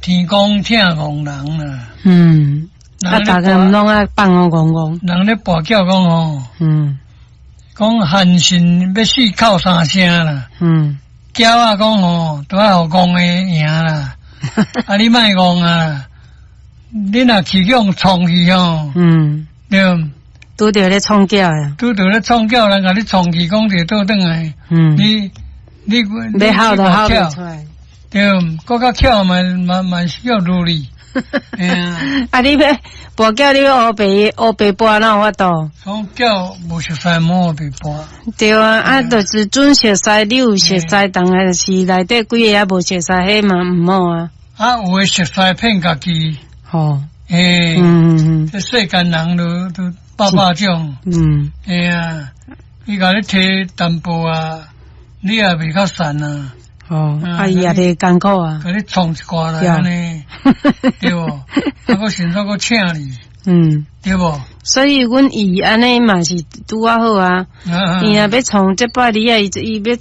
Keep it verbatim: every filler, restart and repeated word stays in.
天公疼戇人啦。嗯，啊，逐家毋攏愛放予戇戇。人咧跋筊講吼，嗯，講韓信欲死哭三聲啦。嗯，鳥仔講吼，都愛予戇的贏啦。啊，你莫戇啊！你若去予創去吼，嗯，對，拄著咧創叫啊，拄著咧創叫，人共你創去，講著倒轉來，嗯，你你欲吼都吼袂出來，對，閣較巧嘛嘛嘛是叫如意。啊！你欲跋筊，你欲烏白烏白跋，哪有法度？講叫無熟似無白跋。對啊，啊，就是準熟似，你有熟似，但是內底幾个也無熟似，彼嘛毋好啊。啊，有的熟似騙家己。吼。欸，嗯嗯這世間人都都百百種。嗯。嘿啊，伊共你提淡薄啊，你也袂較善啊。哦，啊伊也袂艱苦啊，共你創一寡來按呢，對無？啊，閣甚至閣請你，嗯，對無？所以阮伊按呢嘛是拄仔好啊。伊若欲創，這擺你啊，伊伊欲